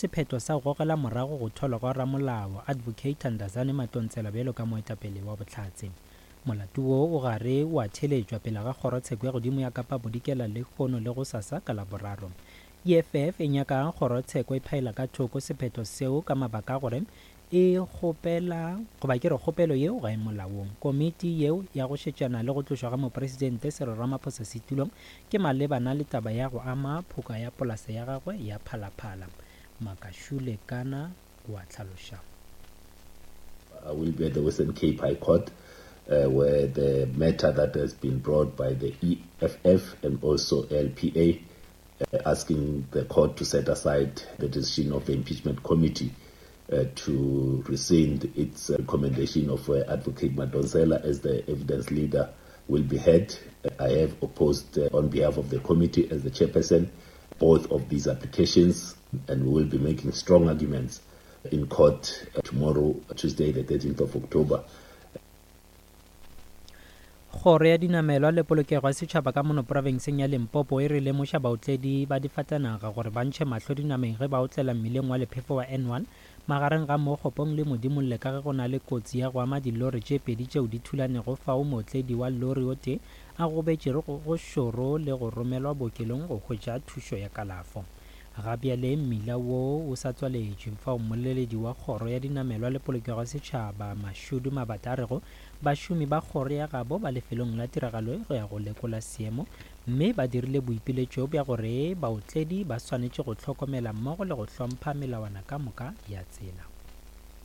Sephetho sa go gogela morago go thwalwa gwa ramolao Advocate Thandazani Matontsela bjalo ka moetapele wa bohlatse. Molato wo o gare o a theeletšwa pele ga Kgorotsheko ya Godimo ya Kapa Bodikela lehono le gosasa ka Laboraro. EFF e nyaka kgorotsheko e phaela ka thoko sephetho seo ka mabaka a gore e kgopela goba ke re kgopelo yeo ga e molaong. Komiti yeo ya go šetšana le go tlošwa ga Mopresidente Cyril Ramaphosa setulong ke malebana le taba ya go ama phoka ya polasa ya gagwe ya Phalaphala. Makashule Kana o a hlaloša. I will be at the Western Cape High Court uh, where the matter that has been brought by the EFF and also LPA uh, asking the court to set aside the decision of the impeachment committee uh, to rescind its recommendation of uh, Advocate Madonsela as the evidence leader will be heard. I have opposed uh, on behalf of the committee as the chairperson both of these applications and we will be making strong arguments in court uh, tomorrow, Tuesday, the 13th of October. Kgoro ya Dinamelwa le Polokego ya Setšhaba ka mono profenseng ya Limpopo e re lemoša baotledi ba difatanaga gore ba ntšhe mahlo dinameng ge ba otlela mmileng wa lephefo wa N1 magareng ga Mookgopong le Modimolle ka ge go na le kotsi ya go ama dilori tše pedi tšeo di thulanego fao mootledi wa lori o tee a gobetšego go šoro le go romelwa bookelong go hwetša thušo ya kalafo. Ga bjale mmila wo o sa tswaletšwe fao mmoleledi wa Kgoro ya Dinamelwa le Polokego ya Setšhaba Mashudu Mabata a rego Bašomi ba kgoro ya gabo ba lefelong la tiragalo go ya go lekola seemo mme ba dirile boipiletšo bja gore baotledi ba swanetše go hlokomela mmogo le go hlompha melawana ka moka ya tsela.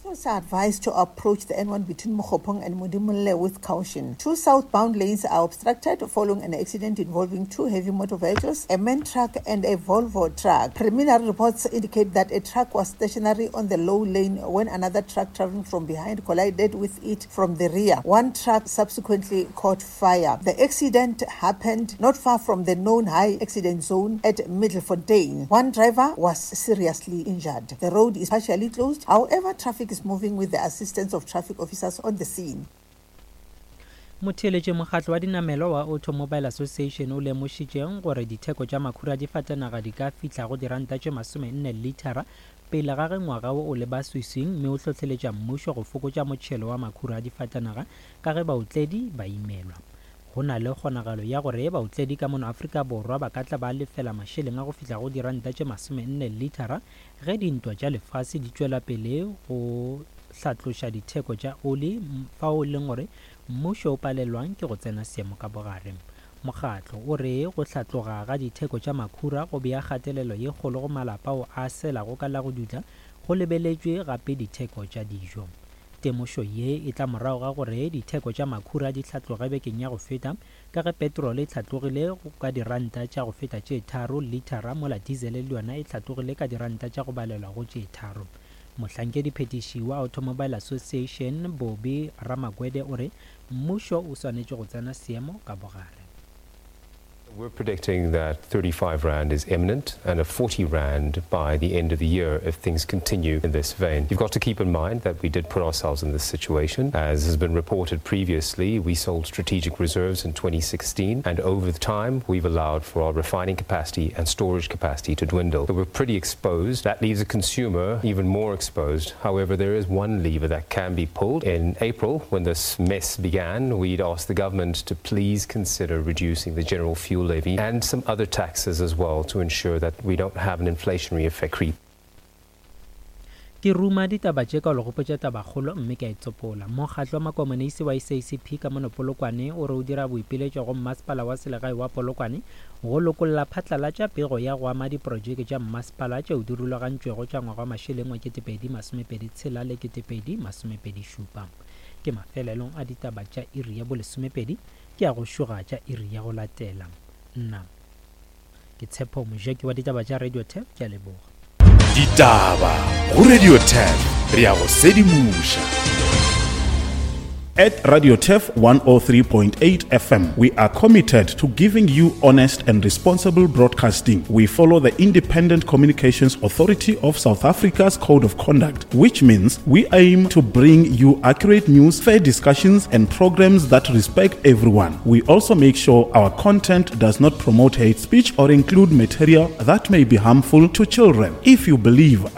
Motorists are advised to approach the N1 between Mookgopong and Modimolle with caution. Two southbound lanes are obstructed following an accident involving two heavy motor vehicles, a man truck and a Volvo truck. Preliminary reports indicate that a truck was stationary on the low lane when another truck traveling from behind collided with it from the rear. One truck subsequently caught fire. The accident happened not far from the known high accident zone at Middelfontein. One driver was seriously injured. The road is partially closed. However, traffic is moving with the assistance of traffic officers on the scene. Motheeletši Mokgatlo wa dinamelwa wa Automobile Association o lemošitše gore ditheko tša makhura a difatanaga di ka fihla go diranta tše masomenne lithara pele ga ge ngwaga wo o leba swiswing mme o hlohleletša mmušo go fokotša motšhelo wa makhura a difatanaga ka ge baotledi ba imelwa. Go na le kgonagalo ya gore baotledi ka mono Afrika Borwa ba ka tla ba lefela mašeleng a go fihla go diranta tše masomenne lithara ge dintwa tša lefase di tšwela pele go hlatloša ditheko tša oli fao e leng gore mmušo o palelwang ke go tsena seemo ka bogare. Mokgatlo o re go hlatloga ga ditheko tša makhura go bea kgatelelo ye kgolo go malapa ao a selago ka la go dutla go lebeletšwe gape ditheko tša dijo. Temošo ye e tla morago ga gore ditheko tša makhura di hlatloge bekeng ya go feta ka ge petrole e hlatlogile ka diranta tša go feta tše tharo lithara mola dizele le yona e hlatlogile ka diranta tša go balelwa go tše tharo. Mohlankediphethiši wa Automobile Association Bobby Ramagwede o re mmušo o swanetše go tsena seemo ka bogare. We're predicting that 35 Rand is imminent and a 40 Rand by the end of the year if things continue in this vein. You've got to keep in mind that we did put ourselves in this situation. As has been reported previously, we sold strategic reserves in 2016, and over the time, we've allowed for our refining capacity and storage capacity to dwindle. So we're pretty exposed. That leaves the consumer even more exposed. However, there is one lever that can be pulled. In April, when this mess began, we'd asked the government to please consider reducing the general fuel levy and some other taxes as well to ensure that we don't have an inflationary effect creep. Ke ruma ditaba tše ka go le gopotša tabakgolo mme ke a e tsopola. Mokgatlo wa Makomonisi wa SACP ka mono Polokwane o re o dira boipiletšo go Mmasepala wa Selegae wa Polokwane go lokolla phatlalatša pego ya go ama diprojeke tša mmasepala tšeo di rulagantšwego tša ngwaga wa mašeleng wa 2026 le 2027. Ke mafelelong a ditaba tša iri ya bolesomepedi ke ya go šoga tša iri ya go latela. Nna ke Tshepo Mojeki wa ditaba tša Radio Tap, ke a leboga. Ditaba go Radio Tap, re ya go sedimoša. At Radio Turf 103.8 FM, we are committed to giving you honest and responsible broadcasting. We follow the Independent Communications Authority of South Africa's Code of Conduct, which means we aim to bring you accurate news, fair discussions, and programs that respect everyone. We also make sure our content does not promote hate speech or include material that may be harmful to children. If you believe